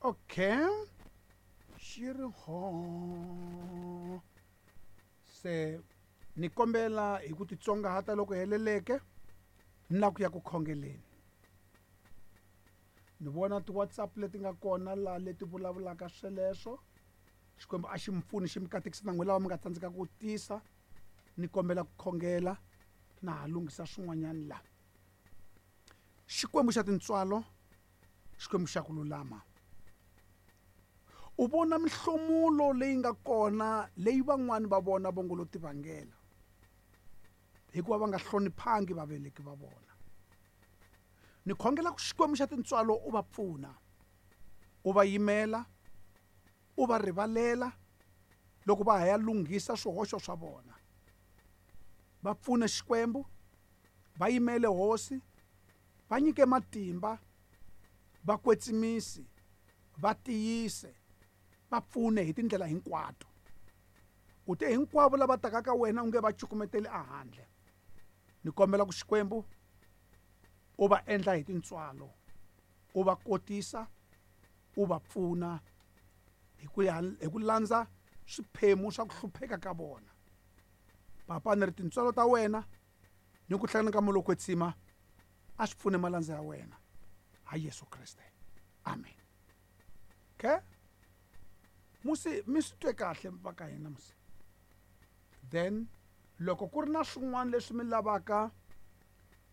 Okay, xi ri ho se ni kombela hi ku titsongahata loko heleleke ni la ku ya ku khongeleni. Ni vona ti-WhatsApp leti nga kona laha leti vulavulaka sweleswo. Xikwembu a xi mi pfuni xi mi katekisa na n'wina lava mi nga tsandzeka ku tisa. Ni kombela ku khongela na ha lunghisa swin'wanyana la. Xikwembu xa tintswalo, Xikwembu xa ku lulama, u vona mihlomulo leyi nga kona leyi van'wani va vona vo ngo lo tivangela hikuva va nga hloniphangi vaveleki va vona. Ni khongela ku Xikwembu xa tintswalo u va pfuna, u va yimela, u va rivalela loko va ha ya lunghisa swihoxo swa vona. Va pfune Xikwembu, va yimele Hosi, va nyike matimba, va kwetsimisi, va tiyise, va pfune hi tindlela hinkwato. U te hinkwavo lava taka ka wena u nge va cukumeteli ehandle. Ni kombela ku Xikwembu u va endla hi tintswalo, u va kotisa, u va pfuna hi ku ya hi ku landza swiphemu swa ku hlupheka ka vona. Papa, ni ri tintswalo ta wena ni ku hlangana ka Moya lowo Kwetsima a swi pfune malandza ya wena ha Yesu Kriste. Amen. Okay? Musi mi swi twe kahle va ka hina musi. Then loko ku ri na swin'wana leswi mi lavaka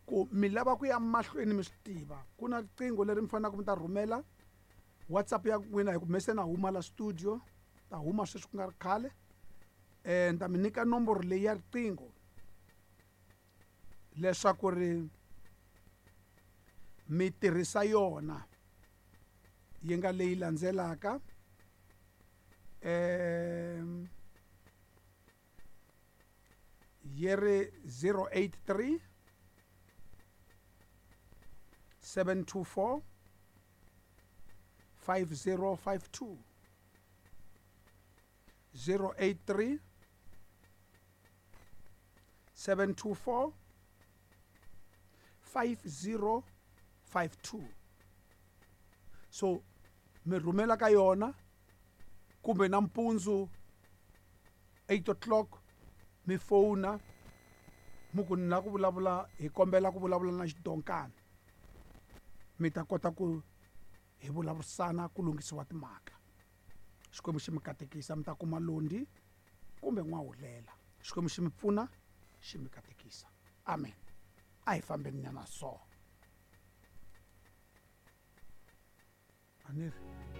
ku mi lava ku ya mahlweni mi swi tiva, ku na riqingho leri mi faneleke mi ta rhumela WhatsApp ya n'wina hi ku me se na huma la studio, ta huma sweswi ku nga ri khale. Ni ta mi nyika nomboro leyi ya riqingho leswaku ri mi tirhisa yona yi nga leyi landzelaka. Yi ri 083 724 5052, 083 724 5052. So mi rhumela ka yona kumbe nampundzu 8 o'clock mi fona mi ku ni lava ku vulavula, hi kombela ku vulavula na xidonkana, mi ta kota ku hi vulavurisana ku lunghisiwa timhaka. Xikwembu xi mi katekisa, mi ta kuma londi kumbe n'wahulela. Xikwembu xi mi pfuna, xi mi katekisa. Amen. A hi fambeni nyana so. A ni ri.